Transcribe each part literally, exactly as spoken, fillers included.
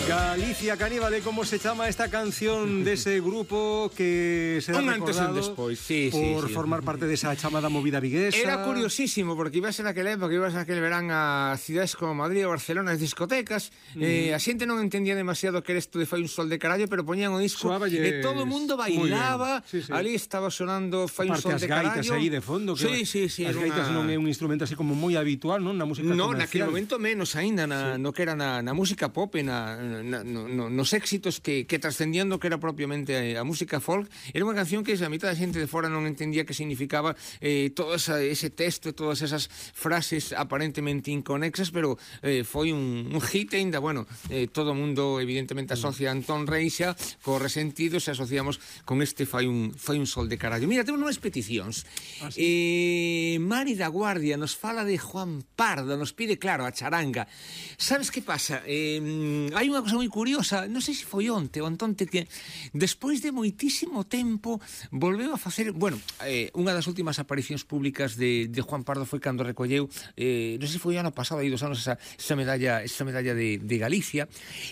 Galicia Caníbale, como se chama esta canción dese grupo que será un antes e un recordado despois, sí, por sí, sí. formar parte desa chamada movida viguesa? Era curiosísimo, porque ibas en aquel época, ibas aquel verán a cidades como Madrid ou Barcelona, as discotecas, mm. eh, a xente non entendía demasiado que era isto de Fai un sol de carallo, pero poñían o disco Suaballes. e todo o mundo bailaba, sí, sí. ali estaba sonando Fai un sol de carallo. As gaitas aí de fondo, que sí, sí, sí, as gaitas una... non é un instrumento así como moi habitual, non? Na música no, comercial. naquele momento menos aínda, na, sí. no que era na, na música pop, na, na, no, no, nos éxitos que, que trascendiendo que era propiamente a, a música folk. Era unha canción que a mitad da xente de fora non entendía que significaba eh, todo esa, ese texto e todas esas frases aparentemente inconexas, pero eh, foi un, un hit ainda, bueno, eh, todo o mundo evidentemente asocia a Antón Reixa co Resentido, se asociamos con este Fai un, fai un sol de carallo. Mira, temos unhas peticións. Ah, sí. eh, Mari da Guardia nos fala de Juan Pardo, nos pide, claro, a charanga. Sabes que pasa? Eh, hai unha cosa moi curiosa, non sei se foi onte ou antonte, que despois de moitísimo tempo volveu a facer, bueno, eh, unha das últimas aparicións públicas de, de Juan Pardo foi cando recolleu, eh, non sei se foi ano pasado, hai dos anos, esa, esa medalla, esa medalla de, de Galicia,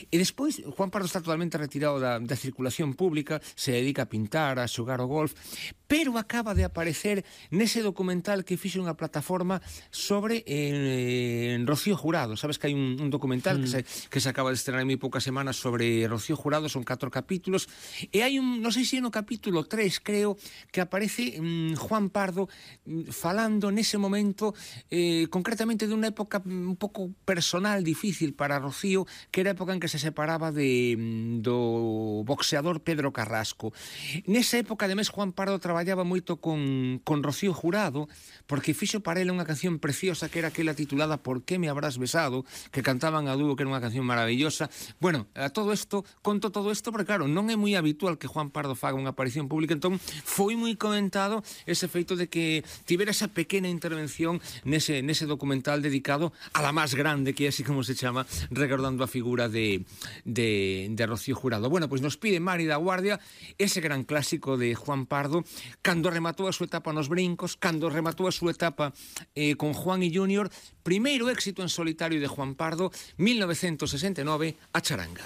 e despois Juan Pardo está totalmente retirado da, da circulación pública, se dedica a pintar, a xogar o golf, pero acaba de aparecer nese documental que fixe unha plataforma sobre eh, Rocío Jurado. Sabes que hai un, un documental mm. que, se, que se acaba de estrenar en moi poucas semanas sobre Rocío Jurado, son catro capítulos, e hai un, non sei se no capítulo tres, creo, que aparece mm, Juan Pardo mm, falando nese momento eh, concretamente dunha época un pouco personal, difícil para Rocío, que era a época en que se separaba de, do boxeador Pedro Carrasco. Nesa época, ademais, Juan Pardo traballaba moito con, con Rocío Jurado, porque fixo para ele unha canción preciosa que era aquela titulada Por que me habrás besado, que cantaban a dúo, que era unha canción maravillosa. Bueno, a todo isto, conto todo isto, porque claro, non é moi habitual que Juan Pardo faga unha aparición pública, entón foi moi comentado ese feito de que tivera esa pequena intervención nese, nese documental dedicado a la máis grande, que é así como se chama, recordando a figura de, de, de Rocío Jurado. Bueno, pois nos pide Mari da Guardia ese gran clásico de Juan Pardo, cando rematou a súa etapa nos brincos, cando rematou a súa etapa eh, con Juan y Junior, primeiro éxito en solitario de Juan Pardo, mil novecientos sesenta e nove, a charanga.